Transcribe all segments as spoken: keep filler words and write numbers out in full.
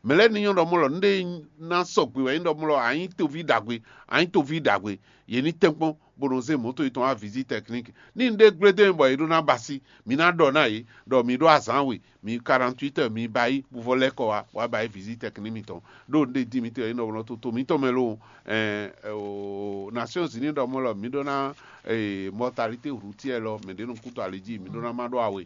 Mɛ lɛ́ɛ ní nyɔ́ ɖɔ mɔ̌ lɔ, nǔɖé ná sɔgbe wɛ nyí ɖɔ mɔ̌ lɔ, a nyí toví ɖagbe, a nyí toví ɖagbe. Yě ní tɛ́nkpɔ́n bó nɔ zé mɔ̌to yětɔn wá vizit tɛkník. Ní nǔɖé gblé dó nyí bɔ yě ɖó ná ba sí, mi ná ɖɔ ná yě ɖɔ mi ɖó azǎn we, mi quarante-huit heures mi ba yí, bó vɔ lɛ́ kɔ wá, wá ba yí vizit tɛkník mitɔn. Ɖó nǔɖé dín mitɔn yě nɔ blɔ́ toto mitɔn mɛ lóo, Nations Unies ɖɔ mɔ̌ lɔ mi ɖó ná mɔtalité routière lɔ, mɛ ɖě nɔ kú to ali jí, mi ɖó ná má ɖó awe.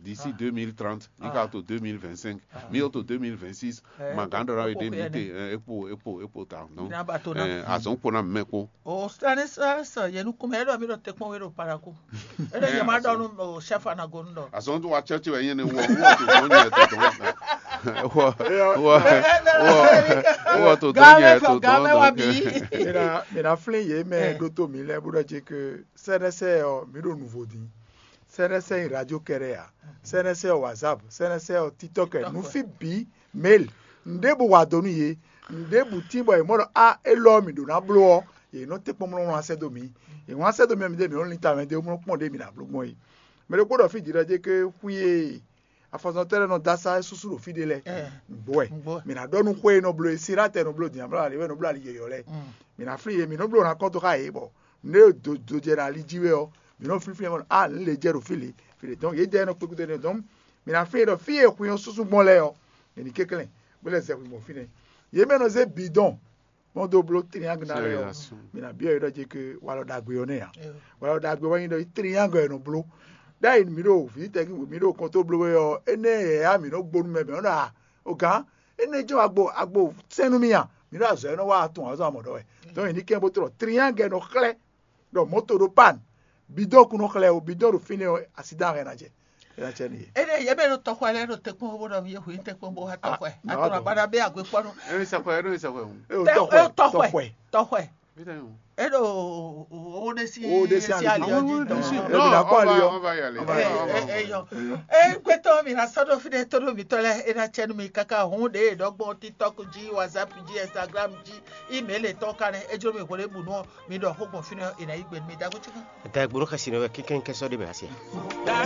D'ici deux mille trente, mi ka to deux mille vingt-cinq, mi yɔ to deux mille vingt-six, ma gǎn ɖɔ ná we ɖé mi te, ekpo ekpo ekpo ta. Donc azɔn kpo ná mɛ kpo. O sani sɔ yenu kuma e ɖɔ mi ɖɔ te kpɔn we ɖo paraku. E ɖɔ yɛ ma ɖɔ nu o chef anagonu ɖɔ. Azɔn tó wa tsɛ tsɛ wɛ nyɛ ne wɔ wɔ to dɔn nyɛ to dɔn. Wɔ wɔ wɔ wɔ to dɔn nyɛ to dɔn. Mira mira flin ye mɛ ɖo to mi lɛ bó ɖɔ dzi ke sɛnɛsɛ ɔ mi ɖo nuvo din. Sɛnɛsɛ yin radio kɛɖɛ ya. Sɛnɛsɛ ɔ whatsapp, sɛnɛsɛ ɔ tiktok, nufi bi mail. Nɖe bu wa do nu ye. Nɖe bu tin bɔ ye mɔ ɖɔ a elɔ mi ɖo na blo ɔ, ye nɔ te kpɔmlɔ wlán sɛ do mi. Ye wlán sɛ do mi mi de mi nɔ lin ta mɛ de mlɔ kpɔn de mi na blo gbɔn ye. Mɛ ɖokpo ɖɔ fi di ɖɔ dze ke hu ye. Afɔzɔntɔ́ lɛ́ɛ nɔ dó asá susu ɖo fí ɖé lɛ́ɛ. Nǔgbó wɛ. Mi ná ɖɔ nú xwé e nɔ bló e Siratɛ nɔ bló din amlá ali wɛ nɔ bló ali yɔyɔ lɛ́ɛ. Mi ná flín yě, mi nɔ bló ná kɔn dó xá yě bɔ nǔ e do do jɛ ɖo ali jí wɛ ɔ́, mi nɔ flínflín mɔ a nǔ lě jɛ ɖo fí lě fí lě dɔn yě jɛ nɔ kpékúdó nɛ dɔn. Mi ná flín yě ɖɔ fí e xwin ɔ́ súsú gbɔn lɛ́ɛ ɔ́, è nǐ kɛnklɛ́n bó lɛ́ zɛ xwin gbɔn fínɛ́. Yě mɛ nɔ zé bǐ dɔn mɔ dó bló triangle ná lɛ́ɛ ɔ́, mi ná byɔ́ yě ɖɔ jɛ ke walɔ ɖagbe ɔ́ nɛ́ ǎ. Walɔ ɖagbe wɛ nyí ɖɔ triangle ɛ nɔ bló. Ɖ'ayǐ mi ɖo vǐ tɛ́ntin mi ɖo kɔntó bló wɛ ɔ́, énɛ́ yɛ yá mi nɔ gbónú mɛ mɛ ɔ́ ɖɔ a o gǎn, énɛ́ jɛ́n agbo agbo sɛ́n nú mì a? Mi ɖo azɔ̌ e nɔ wa atun azɔn amɔ̌ ɖɔ wɛ. Donc è nǐ kɛn bó tlɔ triangle nɔ xlɛ́ ɖɔ mɔ̌to ɖo pan, bidɔn kun nɔ xlɛ́ o, bidɔn ɖo fínɛ́ ɔ́, asidán hɛn ná jɛ. É ná cɛ n'i. Énɛ́ yě mɛ ɖo tɔxɔ lɛ́ɛ ɖo tɛkpɔ́n bó ɖɔ mi yé hu nyí tɛkpɔ́n bó wá tɔxɔɛ. Atɔnɔ abada bɛ agbe kpɔnu. Emi sakɔ, eno emi sakɔ. Tɔxɔɛ. Tɔxɔɛ. Tɔxɔɛ. Eno o de si ali ɔji tɔn. Emi na kɔ ali ɔ. Eyɔ. Ee gbɛtɔ mi na sɔdɔ fi ɖe to ɖo mi tɔ lɛ e na cɛ nu mi kaka hun ɖe dɔgbɔn TikTok ji, WhatsApp ji, Instagram ji, email tɔ kan ne ejoro mi hwele bu nɔ mi ɖɔ xo gbɔn fi nɔ e na yi gbe mi dago tsi kan. Da gbolo xɛsi nɔ wɛ kɛnkɛn kɛsɔ de bɛ asia.